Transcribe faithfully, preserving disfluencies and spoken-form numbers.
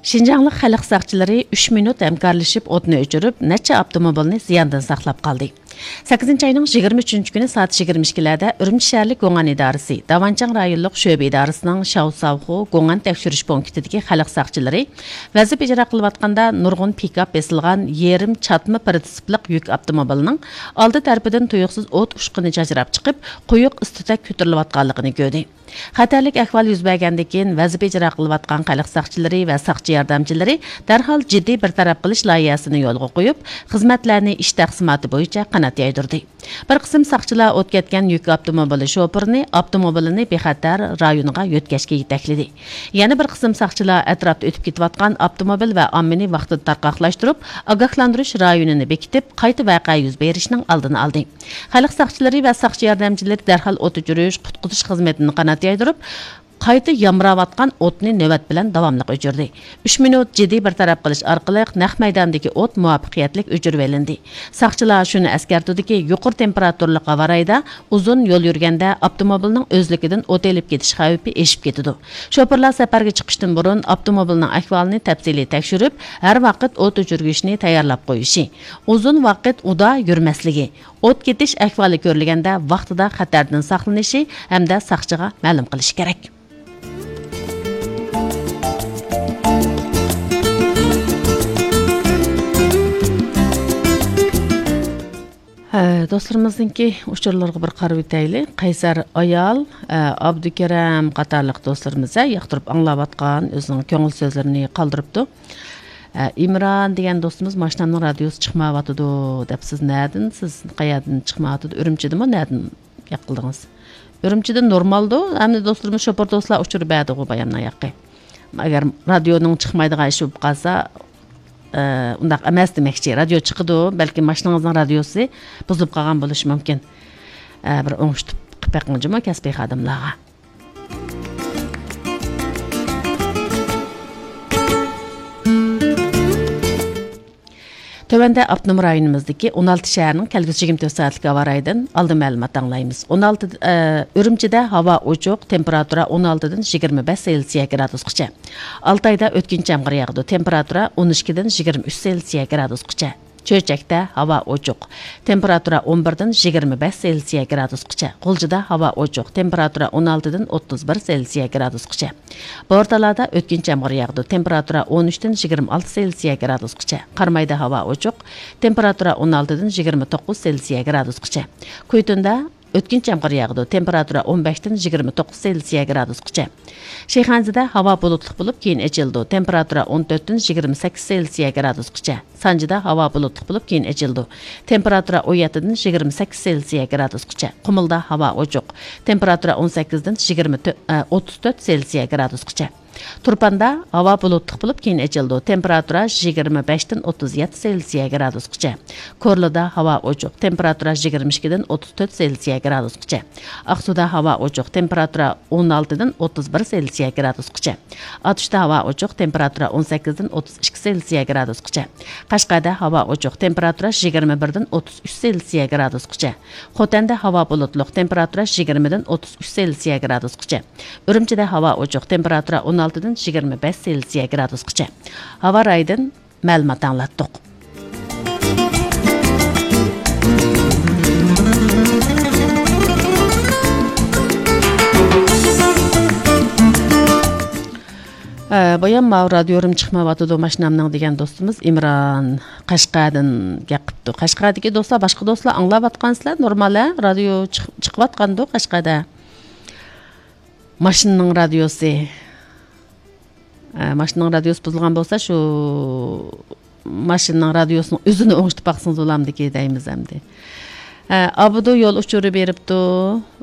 شىنجاڭلىق خەلق ساقچىلىرى ئۈچ مىنۇت ھەمكارلىشىپ ئوتنى ئۆچۈرۈپ، نەچچە ئاپتوموبىلنى زىياندىن ساقلاپ قالدى. سەككىزىنچى ئاينىڭ يىگىرمە ئۈچىنچى كۈنى سائەت يىگىرمە ئىككىلەردە ئۈرۈمچى شەھەرلىك گۇڭئەن ئىدارىسى، داۋانچياڭ رايونلۇق شۆبە ئىدارىسىنىڭ شاۋساۋخۇ گۇڭئەن تەكشۈرۈش پونكىتىدىكى خەلق ساقچىلىرى ۋەزىپە ئىجرا قىلىۋاتقاندا نۇرغۇن پىكاپ بېسىلغان يېرىم چاتما پىرىتسىپلىق يۈك ئاپتوموبىلىنىڭ ئالدى تەرىپىدىن تۇيۇقسىز ئوت ئۇچقۇنى چاچراپ چىقىپ، قويۇق ئىس-تۈتەك كۆتۈرۈلۈۋاتقانلىقىنى كۆردى. خەتەرلىك ئەھۋال يۈز بەرگەندىن كېيىن، ۋەزىپە ئىجرا قىلىۋاتقان خەلق ساقچىلىرى ۋە ساقچى ياردەمچىلىرى دەرھال جىددىي بىر تەرەپ قىلىش لايىھەسىنى يولغا قويۇپ، خىزمەتلەرنى ئىش تەقسىماتى بويىچە قانات يايدۇردى. بىر قىسىم ساقچىلار ئوت كەتكەن يۈك ئاپتوموبىلى شوپۇرىنى ئاپتوموبىلىنى بىخەتەر رايونىغا يۆتكەشكە يېتەكلىدى. يەنە بىر قىسىم ساقچىلار ئەتراپتا ئۆتۈپ كېتىۋاتقان ئاپتوموبىل ۋە ئاممىنى ۋاقتىدا تارقاقلاشتۇرۇپ، ئاگاھلاندۇرۇش رايونىنى بېكىتىپ، قايتا ۋەقە يۈز بېرىشنىڭ ئالدىنى ئالدى. خەلق ساقچىلىرى ۋە ساقچى ياردەمچىلىرى دەرھال ئوت ئۆچۈرۈش، قۇتقۇزۇش خىزمىتىنى قانات يايدۇرۇپ، قايتا يامراۋاتقان ئوتنى نۆۋەت بىلەن داۋاملىق ئۆچۈردى. ئۈچ مىنۇت جىددىي بىر تەرەپ قىلىش ئارقىلىق نەق مەيداندىكى ئوت مۇۋەپپەقىيەتلىك ئۆچۈرۈۋېلىندى. ساقچىلار شۇنى ئەسكەرتىدۇكى، يۇقىرى تېمپېراتۇرىلىق ھاۋا رايىدا ئۇزۇن يول يۈرگەندە ئاپتوموبىلنىڭ ئۆزلۈكىدىن ئوت ئېلىپ كېتىش خەۋپى ئېشىپ كېتىدۇ. شوپۇرلار سەپەرگە چىقىشتىن بۇرۇن ئاپتوموبىلنىڭ ئەھۋالىنى تەپسىلىي تەكشۈرۈپ، ھەر ۋاقىت ئوت ئۆچۈرگۈچنى تەييارلاپ قويۇشى، ئۇزۇن ۋاقىت ئۇدا يۈرمەسلىكى، ئوت كېتىش ئەھۋالى كۆرۈلگەندە ۋاقتىدا خەتەردىن ساقلىنىشى ھەمدە ساقچىغا مەلۇم قىلىشى كېرەك. ھە، دوستلىرىمىزنىڭكى ئۇچۇرلىرىغا بىر قارىۋېتەيلى. قەيسەر ئايال، ئە، ئابدۇكېرەم قاتارلىق دوستلىرىمىز، ھە، ياقتۇرۇپ ئاڭلاۋاتقان، ئۆزىنىڭ كۆڭۈل سۆزلىرىنى قالدۇرۇپتۇ. ئە، ئىمران دېگەن دوستىمىز، «ماشىنامنىڭ رادىيوسى چىقمايۋاتىدۇ» دەپ، سىز نەدىن، سىز قەيەردىن چىقمايۋاتىدۇ؟ ئۈرۈمچىدىمۇ، نەدىن ياق قىلدىڭىز؟ ئۈرۈمچىدىن نورمالدۇ. ئەمدى دوستلىرىمىز، شوپۇر دوستلار ئۇچۇر بەردىغۇ بايامدىن ياقى. ئەگەر رادىيونىڭ چىقمايدىغان ئىشى بولۇپ قالسا، ئە، ئۇنداق ئەمەس دېمەكچى. رادىيو چىقىدۇ، بەلكى ماشىنىڭىزنىڭ رادىيوسى بۇزۇلۇپ قالغان بولۇشى مۇمكىن. ئە، بىر ئوڭشىتىپ قىلىپ بېقىڭ جۇمۇ كەسپىي خادىملارغا. تۆۋەندە ئاپتونوم رايونىمىزدىكى ئون ئالتە شەھەرنىڭ كەلگۈسى يىگىرمە تۆت سائەتلىك ھاۋا رايىدىن ئالدىن مەلۇمات ئاڭلايمىز. ئون ئالتە، ئە، ئۈرۈمچىدە ھاۋا ئوچۇق، تېمپېراتۇرا ئون ئالتىدىن يىگىرمە بەش سېلسىيە گرادۇسقىچە. ئالتايدا ئۆتكۈنچى يامغۇر ياغىدۇ، تېمپېراتۇرا ئون ئىككىدىن يىگىرمە ئۈچ سېلسىيە گرادۇسقىچە. چۆچەكتە ھاۋا ئوچۇق، تېمپېراتۇرا ئون بىردىن يىگىرمە بەش سېلسىيە گرادۇسقىچە. غۇلجىدا ھاۋا ئوچۇق، تېمپېراتۇرا ئون ئالتىدىن ئوتتۇز بىر سېلسىيە گرادۇسقىچە. بورتالادا ئۆتكۈنچى يامغۇر ياغىدۇ، تېمپېراتۇرا ئون ئۈچتىن يىگىرمە ئالتە سېلسىيە گرادۇسقىچە. قارامايدا ھاۋا ئوچۇق، تېمپېراتۇرا ئون ئالتىدىن يىگىرمە توققۇز سېلسىيە گرادۇسقىچە. كۇيتۇندا ئۆتكۈنچى يامغۇر ياغىدۇ، تېمپېراتۇرا ئون بەشتىن يىگىرمە توققۇز سېلسىيە گرادۇسقىچە. شىخەنزىدە ھاۋا بۇلۇتلۇق بولۇپ، كېيىن ئېچىلىدۇ، تېمپېراتۇرا ئون تۆتتىن يىگىرمە سەككىز سېلسىيە گرادۇسقىچە. سانجىدا ھاۋا بۇلۇتلۇق بولۇپ، كېيىن ئېچىلىدۇ، تېمپېراتۇرا ئون يەتتىدىن يىگىرمە سەككىز سېلسىيە گرادۇسقىچە. قۇمۇلدا ھاۋا ئوچۇق، تېمپېراتۇرا ئون سەككىزدىن يىگىرمە تۆت، ئە، ئوتتۇز تۆت سېلسىيە گرادۇسقىچە. تۇرپاندا ھاۋا بۇلۇتلۇق بولۇپ، كېيىن ئېچىلىدۇ، تېمپېراتۇرا يىگىرمە بەشتىن ئوتتۇز يەتتە سېلسىيە گرادۇسقىچە. كورلىدا ھاۋا ئوچۇق، تېمپېراتۇرا يىگىرمە ئىككىدىن ئوتتۇز تۆت سېلسىيە گرادۇسقىچە. ئاقسۇدا ھاۋا ئوچۇق، تېمپېراتۇرا ئون ئالتىدىن ئوتتۇز بىر سېلسىيە گرادۇسقىچە. ئاتۇشتا ھاۋا ئوچۇق، تېمپېراتۇرا ئون سەككىزدىن ئوتتۇز ئىككى سېلسىيە گرادۇسقىچە. قەشقەردە ھاۋا ئوچۇق، تېمپېراتۇرا يىگىرمە بىردىن ئوتتۇز ئۈچ سېلسىيە گرادۇسقىچە. خوتەندە ھاۋا بۇلۇتلۇق، تېمپېراتۇرا يىگىرمىدىن ئوتتۇز ئۈچ سېلسىيە گرادۇسقىچە. ئۈرۈمچىدە ھاۋا ئوچۇق، تېمپېراتۇرا ئون ئالتىدىن يىگىرمە بەش سېلسىيە گرادۇسقىچە. ھاۋا رايىدىن مەلۇمات ئاڭلاتتۇق. ھە، بايام ماۋۇ رادىيورۇم چىقمايۋاتىدۇ ماشىنامنىڭ دېگەن دوستىمىز ئىمران قەشقەردىن گەپ قىپتۇ. قەشقەردىكى دوستلار، باشقا دوستلار ئاڭلاۋاتقانسىلەر، نورمال ھە؟ رادىيو چىق-، چىقىۋاتقاندۇ قەشقەردە. ماشىنىنىڭ رادىيوسى. ئە، ماشىنىنىڭ رادىيوسى بۇزۇلغان بولسا، شۇ ماشىنىنىڭ رادىيوسىنىڭ ئۆزىنى ئوڭشىتىپ باقسىڭىز بولامدىكى دەيمىز ئەمدى. ئە، ئابدۇ يول ئۇچۇرى بېرىپتۇ.